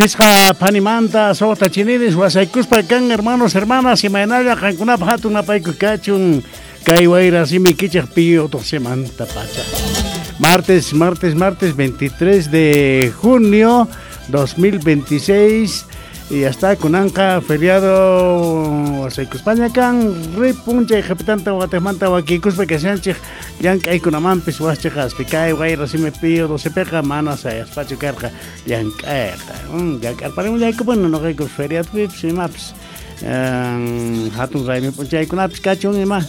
Phisqa phanimanta suqta chiniris wasaykuspa kan hermanos hermanas imaynalla qankunapaq hatun napayku kachun kay wayra simikichej Pío 12 pacha. Martes, martes, martes 23 de junio 2026 y hasta kunanqa feriado wasaykuspaña kan ripun chay qhipitanta watejmanta wakiykuspa kashanchej llank'aykunamanpis wajchaqaspi kay wayra simi Pío 12peqa mana sayaspachu karqa llank'ayqa. Llank'arparimullaykupuni noqayku feriadopipis imapis hatun raymi p'unchaykunapis kachun ima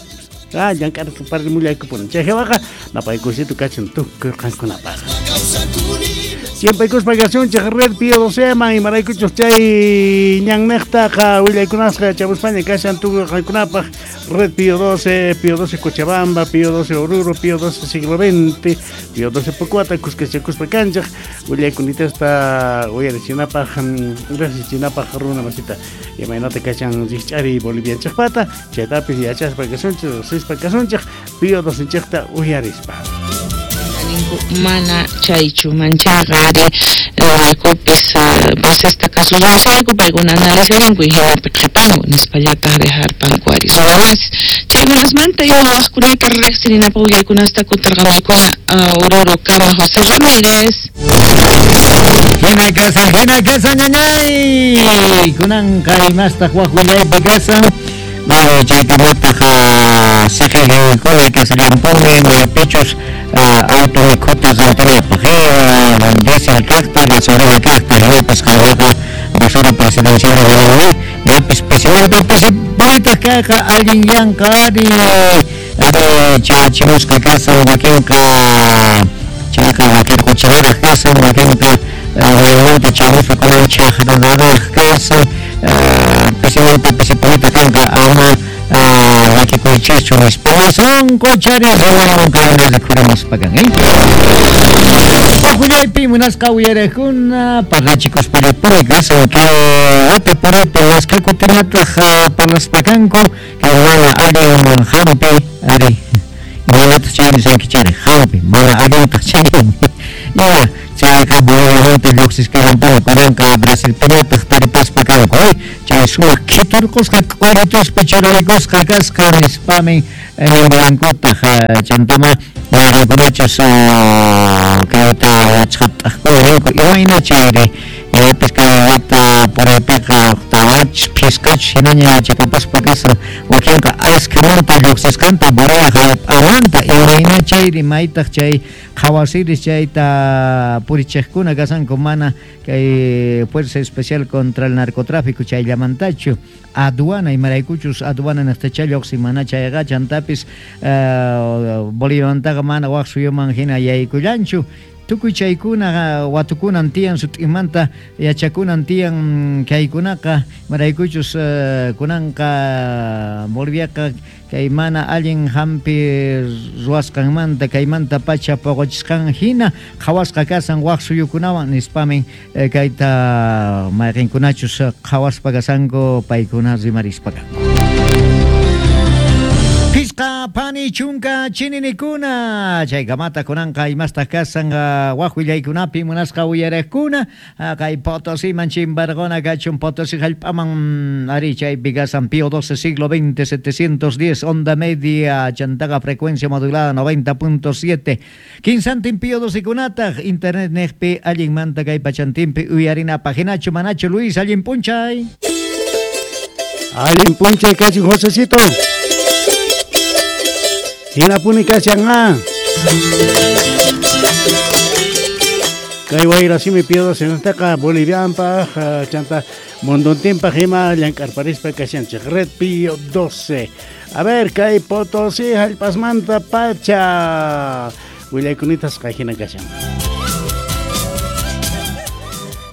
llank'arparimullaykupuni. Chay jawaqa napaykusitu kachun tukuy qankunapaq. Siempre kuspa kasunchej Red Pío 12 man imaraykuchus chay ñannejtaqa willaykunasqa chamuspaña kashan tukuy qankunapaq Red Pío 12, Pío 12 Cochabamba, Pío 12 Oruro, Pío 12 siglo XX, Pío 12 Pocuata, kuskachakuspa kanchej willaykunitasta uyarichinapaj rejsichinapaj runa masita imaynata kashan rikch'ari Bolivianchejpata chaytapis yachaspa kasunchej riqsispa kasunchej Pío 12nchejta uyarispa. Mana chaychu manchaqa ari noqaykupis basesta kasushayku paykuna analizarinku y hinapi qhipanku nispallataq dejarpanku ari runamasis chaykunasmanta ima waqkunata riqsirinapaq willaykunasta kutirqamuykuna Oruro kama José Ramírez. Hina kasan ñañay kunanqa imastaq waq willaypi kasan. Bueno, chaykunataq siqiykuna kasallampuni maypichus auto mikhuta rantinapaq diésel kaqta gasolina kaqta hinapis qanqa basura presidencial ñapis pisimanta pisi kayqa allin yanqa ari chachimusqa kasan wakinqa chayqa wakirquchinaraq kasan wakinqa waymanta chamuspa kunan chaqrunaraq kasan pisimanta pisipunita kanqa ama llakikuychikchu nispa sonqochari rimaywan kayna rikhurimuspa kan Willaypi munasqa uyariqkuna parlachikuspallapuni kasan kay wata puraypi waskhakutinataq parlaspa kanku kay mana allin hampi ari imanataq chay nisaykichari hampi mana allintaq chay ya chayqa Boliviamanta lluqsisqallampuni kunanqa Brasilpiñataq taripaspa kanku chay sumaq khiturqusqa k'urituspa churarikusqa kasqa nispami ñankuntaq chantama mayqankunachus kayta yachaqaptaqkuna ninku imayna chayri imapis kay wata puraypiqa tawachus phisqachus hinaña yachakapaspa kasan wakinqa askhamanta lluqsisqanta Bolivia hallp'amanta imayna chayri maytaq chay qhawasiris chayta purichiqkuna kasanku mana kay Fuerza Especial contra el Narcotráfico chayllamantachu aduana imaraykuchus aduana niqtacha lluqsin mana chayqa chantapis Boliviamantaqa mana waq suyuman hina yaykullanchu tukuy chaykuna watukunan tiyan sut'imanta yachakunan tiyan kaykunaqa imaraykuchus kunanqa Boliviaqa kay mana allin hampi ruwasqanmanta kaymanta pacha puquchisqan hina qhawasqa kasan waq suyukunawan nispamin kayta mayqinkunachus qhawaspa kasanku paykuna rimarispa kanku. Phisqa phani chunka chininikuna chaykamata kunanqa imastaq kasan waq willaykunapi munasqa uyariqkuna kay Potosiman chimbarquna kachun Potosí hallp'aman ari chaypi kasan Pío 12 siglo XX 710 onda media chantaqa frecuencia modulada 90.7 kinsantin Pío 12 kunataq internet niqpi allinmanta kay pachantinpi uyarinapaq hinachu manachu Luis allin p'unchay. Allin p'unchay kachun Josecito. Hinapuni kashan Kay wayra simi Pío 12 nataqa Bolivianpaq chanta munduntinpaq ima llank'arparispa kashanchej Red Pío 12. A ver, kay Potosí hallp'asmanta pacha willaykunitaq hina kashan.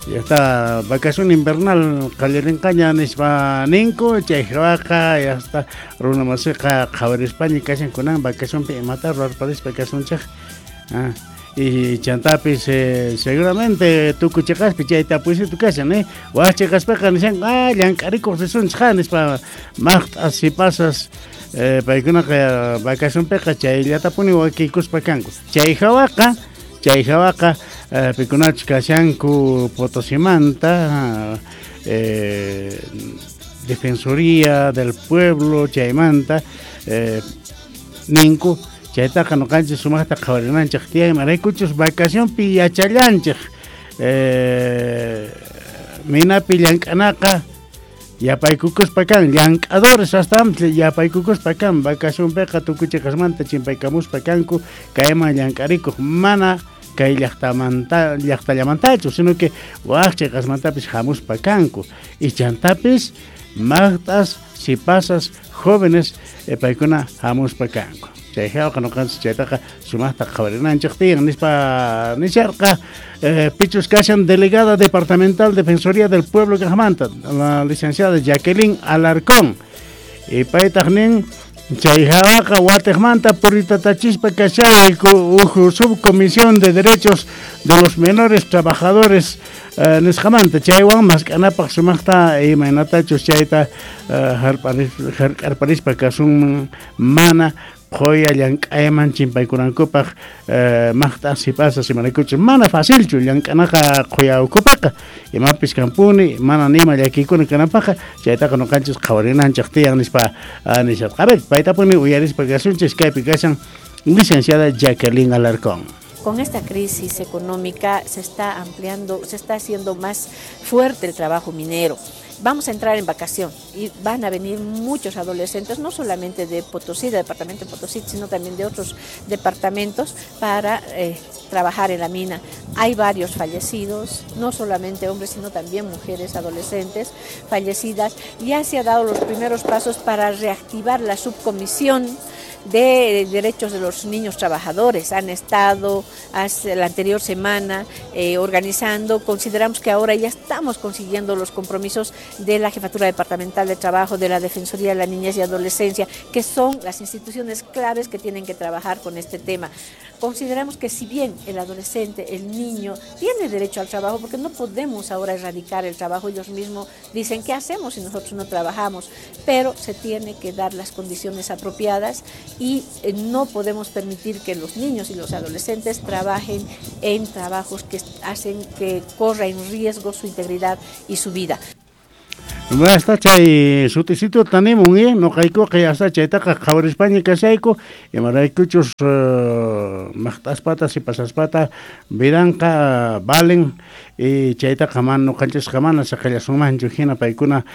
Ya está vacación invernal qallarinqaña nispa ninku chay jawaqa ya está runa masiqa qhawarispaña kashan kunan vacacionpi imata ruwarparispa kasunchej y chantapis seguramente tukuy chiqaspi chayta puysitu kashan waq chiqaspaqa nishan llank'arikuq risunchej nispa maqt'as sipasas paykunaqa vacacionpiqa chayllatapuni wakiykuspa kanku chay jawaqa Chay hawaqa pikunachus kashanku Potosimanta Defensoría del Pueblo chaymanta ninku chaytaqa noqanchis sumaqta qhawarinanchik tiyan imaraykuchus vacacionpi yachallanchik minapi llank'anaqa yapaykukuspa kan llank'adores hasta yapaykukuspa kan vacacionpiqa tukuy chiqasmanta chimpaykamuspa kanku kayman llank'arikuq mana kay llaqtamanta llaqtallamantachu sino que waj chiqasmantapis hamuspa kanku y chantapis maqt'as sipasas jóvenes paykuna hamuspa kanku chay hawaqa noqanchis chaytaqa sumaqta qhawarinanchik tiyan nispa nisharqa pichus kashan delegada departamental Defensoría del Pueblo kaqmanta la licenciada Jacqueline Alarcón y paytaq nin chay hawaqa watiqmanta puritatachispa kashayku uj subcomisión de derechos de los menores trabajadores nisqamanta chaywan mask'anapaq sumaqta imaynatachus chayta hark'arparispa kasunman mana qhoya llank'ayman chimpaykunankupaq maqt'a sipasas imaraykuchus mana facilchu llank'anaqa qhoya ukhupiqa imapis kanpuni mana nima llakiykuna kananpaqqa chaytaqa noqanchis qhawarinanchik tiyan nispa nisharqa. A ver, paytapuni uyarispa kasunchis kaypi kashan licenciada Jacqueline Alarcón. Con esta crisis económica se está ampliando, se está haciendo más fuerte el trabajo minero. Vamos a entrar en vacación y van a venir muchos adolescentes, no solamente de Potosí, del departamento de Potosí, sino también de otros departamentos para trabajar en la mina. Hay varios fallecidos, no solamente hombres, sino también mujeres adolescentes fallecidas. Ya se ha dado los primeros pasos para reactivar la subcomisión de derechos de los niños trabajadores. Han estado hace la anterior semana organizando. Consideramos que ahora ya estamos consiguiendo los compromisos de la Jefatura Departamental de Trabajo, de la Defensoría de la Niñez y Adolescencia, que son las instituciones claves que tienen que trabajar con este tema. Consideramos que si bien el adolescente, el niño, tiene derecho al trabajo, porque no podemos ahora erradicar el trabajo, ellos mismos dicen, ¿qué hacemos si nosotros no trabajamos? Pero se tiene que dar las condiciones apropiadas y no podemos permitir que los niños y los adolescentes trabajen en trabajos que hacen que corra en riesgo su integridad y su vida. Hasta chay sutisito tanimun, noqaykuqa hasta chaytaqa qhawarispaña kashayku imaraykuchus maqt'aspata sipasaspata vidanqa valen y chaytaqa mana noqanchisqa mana saqallasunmanchu hina paykuna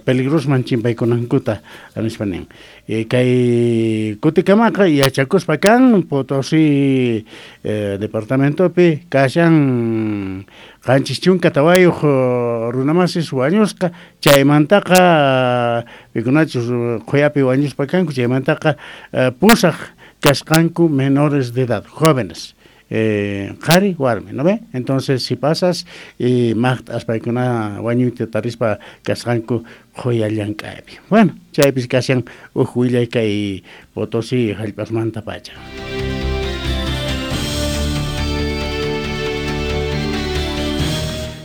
peligrosman chimpaykunankuta nispa nin. Kay kutikamaqa yachakuspa kan Potosí departamentopi kashan 74 runamasis wañusqa chaymantaqa pikunachus qhuyapi wañuspa kanku chaymantaqa pusaq kasqanku menores de edad, jóvenes. Qhari warmi, ¿no ve? Entonces si pasas y maqt'as paykuna wañuyta tarispa kasqanku qhuya llank'aypi. Bueno, chaypis kashan uj willay kay Potosí hallp'asmanta pacha.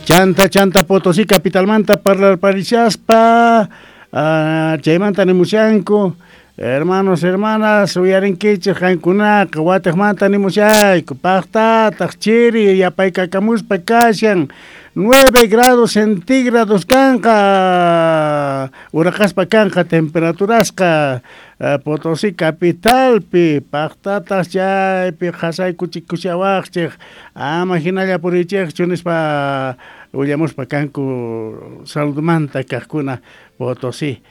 Chanta chanta Potosí capitalmanta parlarparishaspa chaymanta nimushanku hermanos, hermanas, uyarinkichik qankunaqa watiqmanta nimushayku paqtataq chiri yapaykakamuspa kashan 9 grados centígrados kanqa uraqaspa kanqa temperaturasqa Potosí capitalpi paqtataq chaypi qhasaykuchikushawaqchik ama hinalla purichikchu nispa willamuspa kanku saludmanta kaqkuna Potosí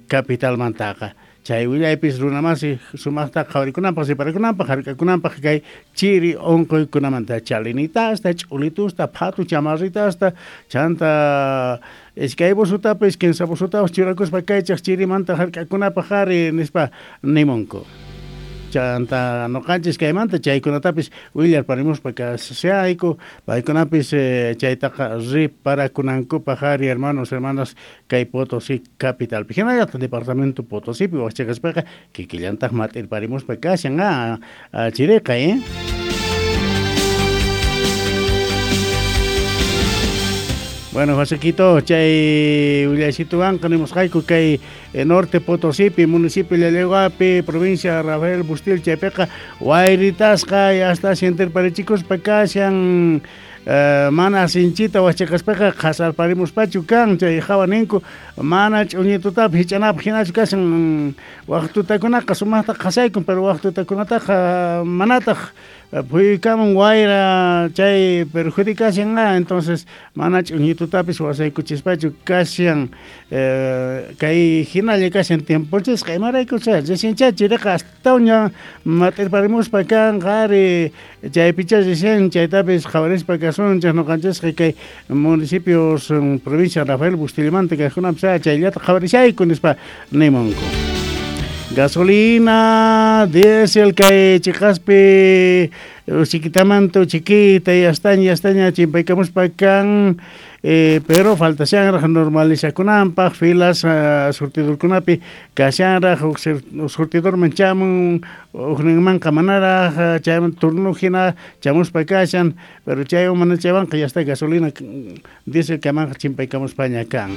capitalmantaqa. Chay willaypis runamasi sumaqta qhawarikunanpaq siparikunanpaq hark'akunanpaq kay chiri unquykunamanta chalinitasta ch'ulitusta phatu chamarritasta chanta iskay busutapis kinsa busutapas churakuspa kaychaq chirimanta hark'akunapaq ari nispa nimunku. Chanta noqanchis kaymanta chaykunatapis willarparimuspa kashayku paykunapis chaytaqa riparakunankupaq ari hermanos, hermanas kay Potosí capitalpi hinallataq departamento Potosípi waqchaqaspaqa kikillantaq mat'irparimuspa kashan chiriqa Bueno, Josequito, chay willasituwanqa nimusqayku kay Norte Potosípi, municipio Llallagüapi, provincia Rafael Bustil, chaypiqa wayritasqa hasta sienterparichikuspa kashan mana sinchita wachaqaspaqa qhasarparimuspachu kan chay hawa ninku mana ch'uñitutapi hich'anapaq hinachu kashan waq tutakunaqa sumaqta qhasaykun pero waq tutakunataqa manataq phuykamun wayra chay perjudicashan entonces mana ch'uñitutapis wasaykuchispachu kashan kay hinalla kashan tiemponchisqa imaraykucha reciencha chiriqa astawanña mat'irparimuspa kan qhari chaypicha recién chaytapis qhawarispa kasunchik ñuqanchisqa kay municipios provincia Rafael Bustillamanta kaqkunapis chayllata qhawarishayku nispa nimunku. Gasolina, diésel kay chiqaspi chiquitamanta chiquita y astaña chimpaykamuspa kan pero faltashanraq normalizakunanpaq filas surtidorkunapi kashanraq huk surtidorman chamun hukninmanqa manaraq chayman turno hina chamuspa kashan pero chaywan mana chaywanqa ya está gasolina diésel kamanqa chimpaykamuspaña kan.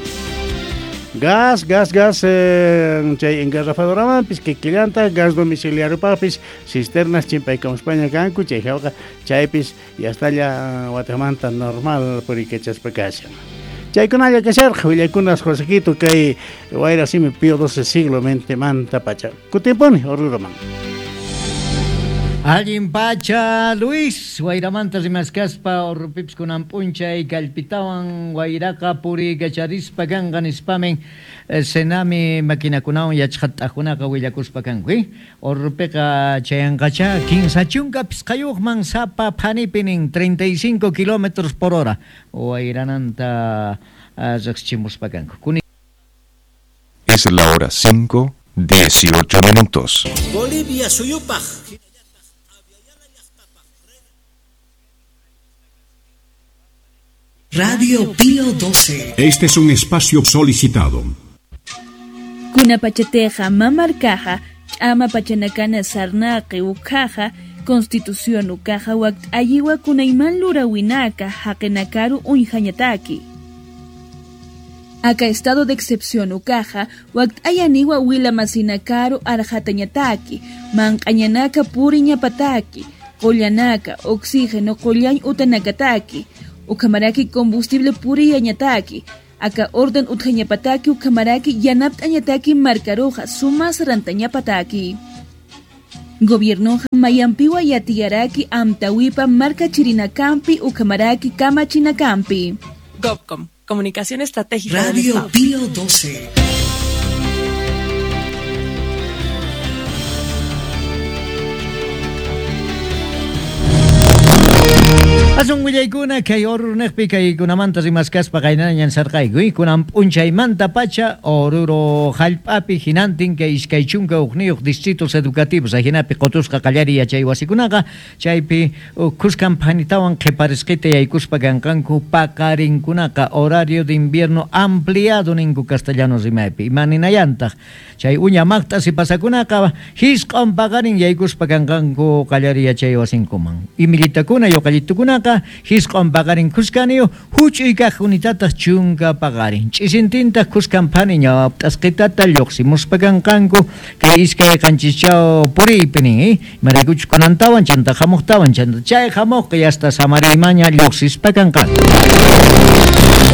Gas, chay engarrafadoramanpis kikillanta, gas domiciliariopaqpis, cisternas chimpaykamuspaña kanku, chay hawqa chaypis yastalla watamanta normal purikachaspa kashan. Chaykunalla kasharqa willaykunas Josequito kay wayra simi Pío XII siglo manta pacha. Kutimpuni Oruroman. Allin pacha Luis, wayramanta rimaskaspa Orrupipis kunan p'unchay kallpitawan wayraqa puriykacharispa kanqa nispamin Senami maquinakunawan yachqat'akunaqa willakuspa kanku Orrupiqa chayanqacha 35 sapa phanipi nin 35 kilómetros por hora wayrananta riqsichimuspa kanku. Es la hora 5:18 minutos. Bolivia suyupaq. Radio Pío 12. Este es un espacio solicitado. Kuna pachateja mamarcaja, chama pachanacana sarnaqi ukaja, Constitución ukaja wakt ayiwa kunayman lurawinaka haqenakaru uñjañataki. Acá estado de excepción ukaja, wakt ayaniwa wilamasinakaru arjatañataki, manqañanaka puriñapataki, qollanaka, oxígeno qollañ utanakataki. Ukamaraki combustible puriyañataki, acá orden utjañapataki ukamaraki yanaptañataki marcaroja sumas rantañapataki. Gobierno mayampiwa yatiyaraki amtawipa marca chirinakampi ukamaraki kamachinakampi. Gobcom, comunicación estratégica. Radio Pío 12. Asun willaykuna kay Oruro-niqpi kaykunamanta rimaskaspa qaynañan sarqayku kunan p'unchaymanta pacha Oruro hallp'api hinantin kay 21 distritos educativos ajinapi qotusqa qallariy yachay wasikunaqa chaypi kuskan phanitawan qhiparisqita yaykuspa kanqanku paqarinkunaqa horario de invierno ampliado ninku castellano rimaypi imaninayantaq chay uña maqta sipasakunaqa hisq'on paqarin yaykuspa kanqanku qallariy yachay wasinkuman imillitakuna yuqallitukunaqa hisq'on paqarin kuskaniyo huch'uy kaq unitataq chunka paqarin ch'isintintaq kuskan phani ñawapt'asqitata lluqsimuspa kanqanku kay 2.7 puriypi nin imaraykuchus kunantawan chanta hamuqtawan chanta chay hamuqqa yasta samariymaña lluqsispa kanqanku.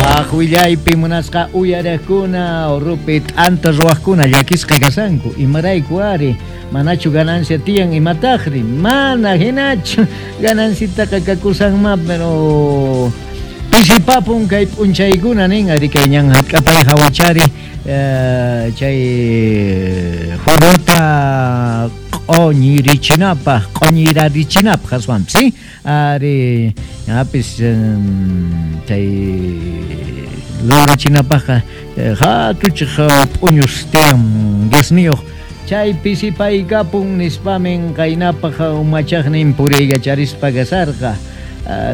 Waq willaypi munasqa uyariqkuna Orrupi t'anta ruwaqkuna llakisqa kasanku imarayku ari manachu ganancia tiyan imataqri mana hinachu ganancitaqa kakusanma pero pisipapun kay p'unchaykuna nin ari kay ñan hatk'apay hawachari chay juruta q'uñirichinapaq q'uñirarichinapaq aswanpis ¿sí? Ari ñapis chay lurachinapaqqa hatuchiq p'uñus tiyan gasniyuq chay pisipaykapun nispamin qaynapaq umachaqnin puriykacharispa kasarqa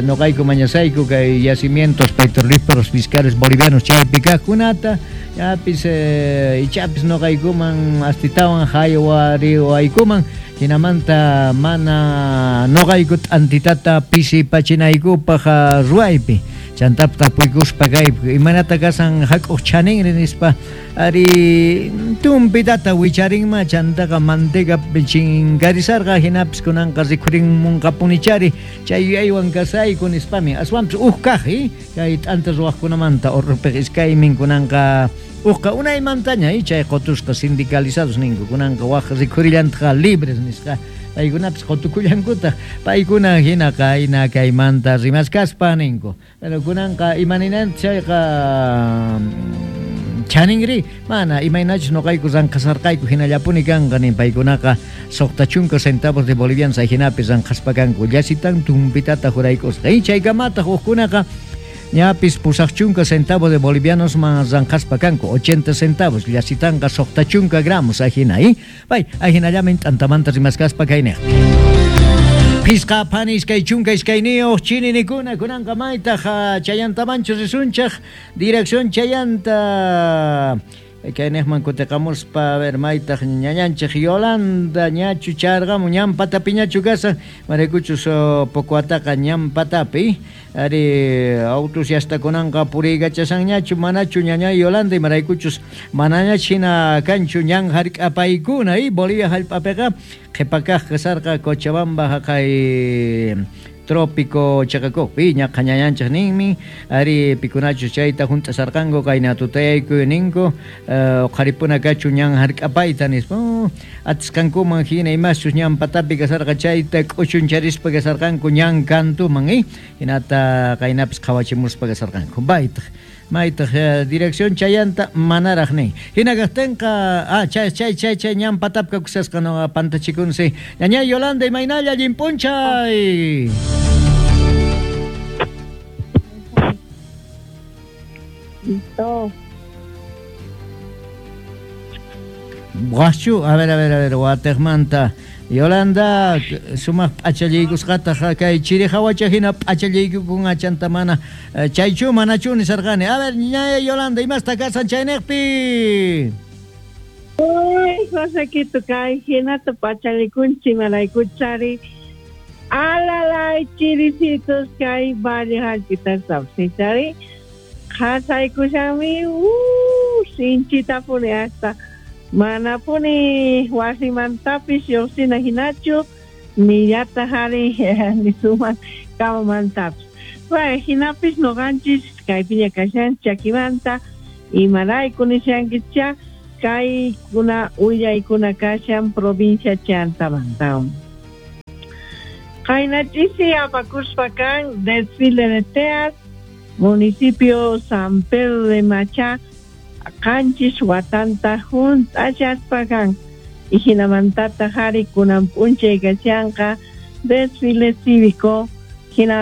noqayku mañasayku kay yacimientos petrolíferos fiscales bolivianos chaypi kaqkunata ñapis ichapis noqaykuman astitawan haywariwaykuman Hinamanta mana noqayku t'antitata pisipachinaykupaq ruwaypi. Chantapis tapuykuspa kaypi imaynata kasan hak'uq chaninri nispa ari tumpitata wicharinma chantaqa manteca chinkarisarqa hinapis kunanqa rikhurinmunqapunichari chay yuyaywan kasayku nispami aswanpis uj kaq kay t'anta ruwaqkunamanta urrupiq iskaymin kunanqa ujqa unaymantaña chay qotusqa sindicalizados ninku kunanqa waq rikhurillantaqa libres nisqa paykunapis qotukullankutaq paykuna hinaqa ayna kaymanta rimaskaspa ninku. Pero kunanqa imaninanta chayqa chaninri mana imaynachus noqayku ranqasarqayku hinallapuni kanqa nin paykunaqa 60 centavos de bolivianos hinapi ranqaspa kanku llasitan tumpitata juraykusqa y chaykamataq uqkunaqa ñapis 80 centavos de bolivianos man ranqaspa kanku 80 centavos llasitanqa 60 gramos ajina pay ajinallamin t'antamanta rimaskaspa kayniq. Pisqa phani 22 chininikuna kunanqa maytaq chayantamanchu risunchaq dirección chayanta kayniqman kutiqamuspa a ver maytaq ñañanchik Yolanda ñachu charqamun ñan patapiñachu kasan maraykuchus poco ataqa ñan patapi ari autos yastakunanqa puriykachashanñachu manachu ñaña Yolanda imaraykuchus manañach hina kanchu ñan hark'apaykuna Bolivia hallp'apiqa qhipakaq kasarqa Cochabamba haqay trópico chaqakuqpi ñaqa ñañanchik ninmi ari pikunachus chayta hunt'asarqanku kayna tutayayku ninku uqharipuna kachu ñan hark'apayta nispa atisqankuman hina imaschus ñan patapi kasarqa chayta k'uchuncharispa kasarqanku ñan kantuman hinata kaynapis qhawachimuspa kasarqanku baytaq maytaq dirección chayanta manaraq nin hina kaqtinqa chay chay chay chay ñan patapi kakusasqa no pantachikunsi ñaña Yolanda imaynalla allin p'unchay. Listo. Guachu, a ver, watejmanta. Yolanda, sumaq p'achallaykusqataq kay chiri hawacha hina p'achallaykukunqa chanta mana chaychu manachu nisarqani. A ver, ñaña Yolanda, imasta kasan chayniqpi? Uy, Josequito, kay hinata p'achallikunchik imaraykuchari. Alalay chiricitos kay valle hallp'itas chari. Qhasaykushanmi, sinchitapuni hasta manapuni wasimantapis lluqsina hinachu nillataq ari nisuman kamamantapis. Bueno, hinapis noqanchis kaypiña kashan chakimanta imarayku nishankicha kaykuna willaykuna kashan provincia chantamanta. Qaynachisi apakuspa kan desfile de teas municipio San Pedro de Machá qanchis watanta hunt'achaspa kan y hinamantata hari kunan p'unchay kashanqa desfile cívico hina